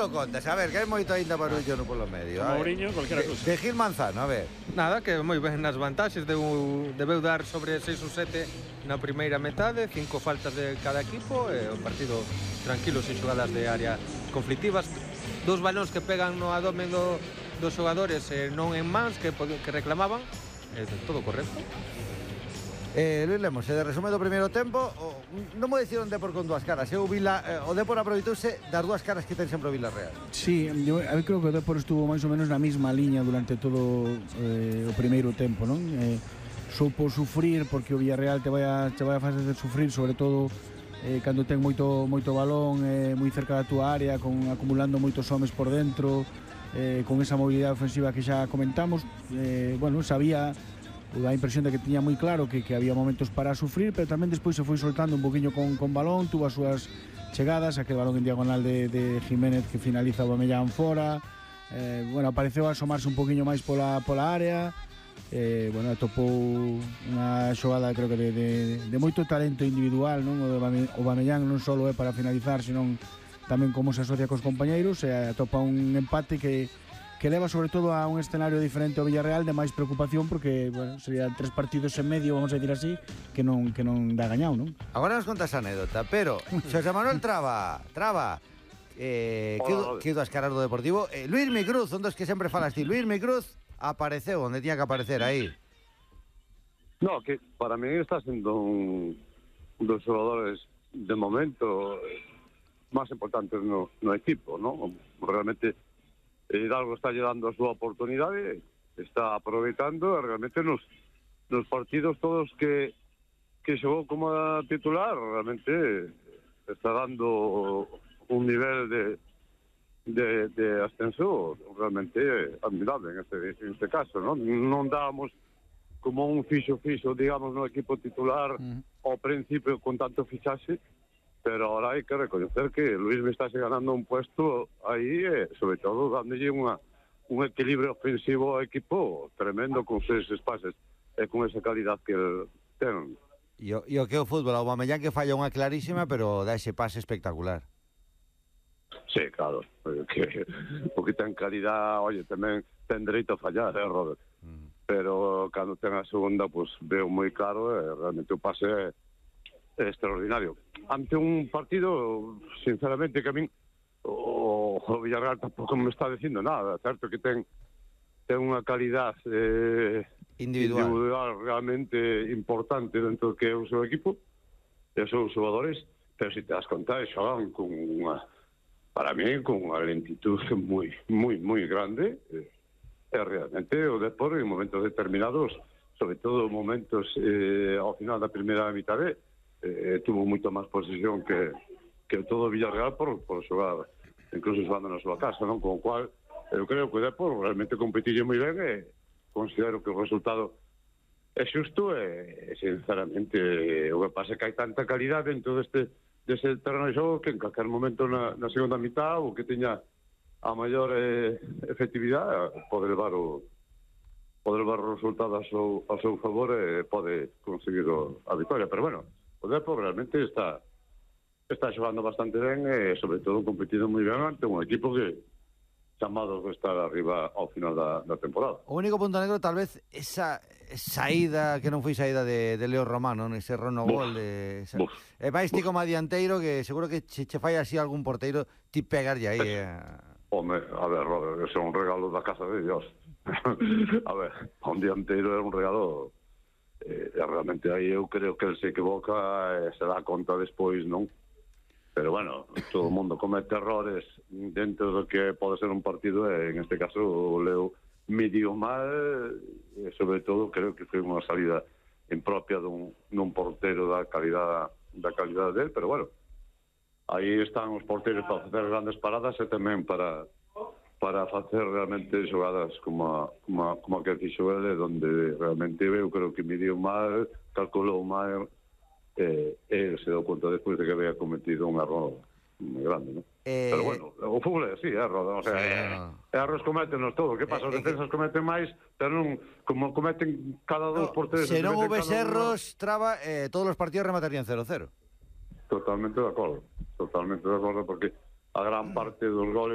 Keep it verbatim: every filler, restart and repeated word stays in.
lo contas? A ver, que hai moito aínda barullo no polo medio. Mourinho, cualquiera cousa. De Gil Manzano, a ver. Nada, que moi ben nas vantaxes, deu, debeu dar sobre seis ou sete na primeira metade, cinco faltas de cada equipo, e o partido tranquilo, sin xogadas de área conflictivas, dos balóns que pegan no abdomen do, dos xogadores e non en mans que, que reclamaban, e todo correcto. Eh, Luis Lemos, se de resume do primeiro tempo, o, non mo dicir un Depor con dúas caras. Eu Vila, eh, o Depor aproveitouse das dúas caras que ten sempre o Villarreal. Sí, eu, eu creo que o Depor estuvo máis ou menos na mesma liña durante todo eh, o primeiro tempo, non? Eh, supo sufrir porque o Villarreal te vai a, te vai a facer sufrir, sobre todo eh, cando ten moito, moito balón eh, moi cerca da túa área, con, acumulando moitos homes por dentro, eh, con esa mobilidade ofensiva que xa comentamos. Eh, bueno, sabía... a impresión de que tiña moi claro que, que había momentos para sufrir, pero tamén despois se foi soltando un poquinho con, con balón, tuvo as súas chegadas, aquel balón en diagonal de, de Jiménez que finaliza o Aubameyang fora, eh, bueno, apareceu a asomarse un poquinho máis pola, pola área, eh, bueno, atopou unha xogada creo que de, de, de moito talento individual, non? O Aubameyang non só é para finalizar, senón tamén como se asocia cos compañeiros, e atopa un empate que que leva sobre todo a un escenario diferente ao Villarreal de máis preocupación, porque, bueno, serían tres partidos en medio, vamos a decir así, que non que non dá gañado, non? Agora nos contas a anécdota, pero Xosé Manuel Traba, Traba, eh, que, que das caras do Deportivo, eh, Luis Micruz, un dos que sempre falas ti, Luis Micruz apareceu onde tiña que aparecer aí. No, que para mí está sendo un, un dos xogadores de momento máis importantes no, no equipo, ¿no? Realmente Hidalgo está lle dando a súa oportunidade, está aproveitando realmente nos, nos partidos todos que, que xogou como titular, realmente está dando un nivel de, de, de ascenso realmente admirable en este, en este caso, ¿no? Non dábamos como un fixo-fixo, digamos, no equipo titular uh-huh. ao principio con tanto fichaxe, pero ahora hai que reconocer que Luis me está ganando un puesto aí, eh, sobre todo dándolle unha, un equilibrio ofensivo ao equipo tremendo con seis espaces e con esa calidad que el ten. E o, e o que é o fútbol, o Aubameyang que falla unha clarísima, pero dá ese pase espectacular. Sí, claro, que o que ten calidad, oye, tamén ten dereito a fallar, eh, Robert? Mm. Pero cando ten a segunda, pues veo moi claro, eh, realmente o pase é extraordinario. Ante un partido, sinceramente, que a min o, o Villarreal tampouco me está dicindo nada, certo que ten ten unha calidad eh, individual. individual realmente importante dentro do que é o seu equipo e os seus xogadores, pero se te das conta, xogan con unha, para mí, con unha lentitud moi, moi, moi grande, e eh, realmente o Depor en momentos determinados, sobre todo momentos eh, ao final da primeira mitade, Eh, tuvo moito máis posesión que, que todo o Villarreal por, por xogar, incluso xogando na súa casa, non? Con o cual, eu creo que o Depor realmente competille moi ben e considero que o resultado é xusto e, sinceramente, o que pasa é que hai tanta calidad dentro deste, deste terreno de xogo que en calquer momento na, na segunda mitad o que teña a maior eh, efectividade pode levar o pode levar o resultado ao seu, ao seu favor e pode conseguir o, a victoria, pero bueno, o Depor realmente está está xogando bastante ben e sobre todo competindo moi ben ante un equipo que chamado de estar arriba ao final da, da temporada. O único punto negro tal vez esa saída que non foi saída de, de Leo Romano, ese rono gol de esa, e máis ti como adianteiro que seguro que che, che fai así algún porteiro ti pegarlle aí eh. Home, a ver, Robert, ese é un regalo da casa de Dios. A ver, un dianteiro é un regalo. Eh, realmente aí eu creo que el se equivoca e se dá conta despois, non? Pero bueno, todo o mundo comete errores dentro do que pode ser un partido e en este caso o Leo medio mal e sobre todo creo que foi unha salida impropia dun, dun portero da calidad da calidad del, pero bueno, aí están os porteros para facer grandes paradas e tamén para para facer realmente xogadas como a, como a, como a que fixo ele, donde realmente eu creo que midiu mal, calculou mal, e eh, se deu conta despois de que había cometido un error moi grande, non? Eh... Pero bueno, o fútbol é así, é error, o sea, sí, no. erros cométenos todo, que pasa? Os eh, defensas que... cometen máis, pero non, como cometen cada dos no, porteros... Se non houbes erros, Traba, eh, todos os partidos rematarían cero cero. Totalmente de acordo, totalmente de acordo, porque a gran parte dos goles